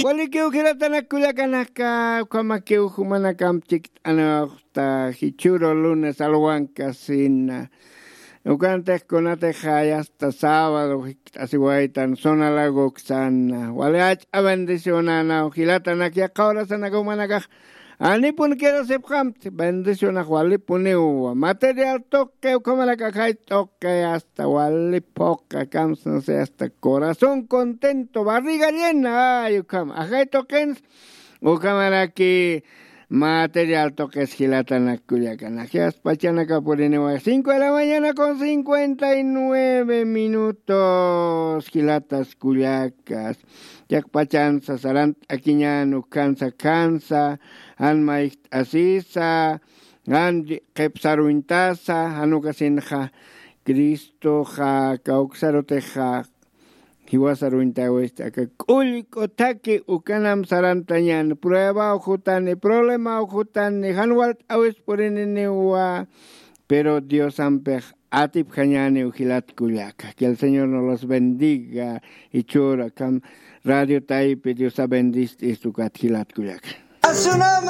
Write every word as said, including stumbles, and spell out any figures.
Walikiw jilatanak kullakanaka, ukhamakiw jumanakamp chikt'anawxta jichhüru lunes alwankasina. Ukantix kunatix jayasta sábado jikt'asiwaytan zona lagoksana. Wali jach'a bendicionanaw jilatanak yaqha horasanaka jumanakax. Anipun quedasipxamti, bendicionax walipuniwa. Material tuqi ukhamarak ajay tuqi hasta wali phuqa kamsnasi hasta corazón contento, barriga llena, ay ukhama ajay tuqins. Ukhamaraki material tuqis jilatanak kullakanak. Yasta pachanaka puriniwa cinco de la mañana con cincuenta y nueve minutos, jilatas kullakas. Yaqpachansa sarant'akiñan ukhansa khansa, jan mayjt'asisa, jan qhipsaruñtasa, jan ukasinxa Cristoxa kawksarutixa jiwasaruñtawista, aka k'ullk'u thaki ukanam sarantañan, pruebaw jutani, problemaw jutani, jan walt'äwis purininiwa, pero Diosampix atipjañäniw jilat kullaka. Que el Señor nos los bendiga. Jichhüru akham radio taypi Diosa bendist'ist ukat jilat kullaka. A su nombre.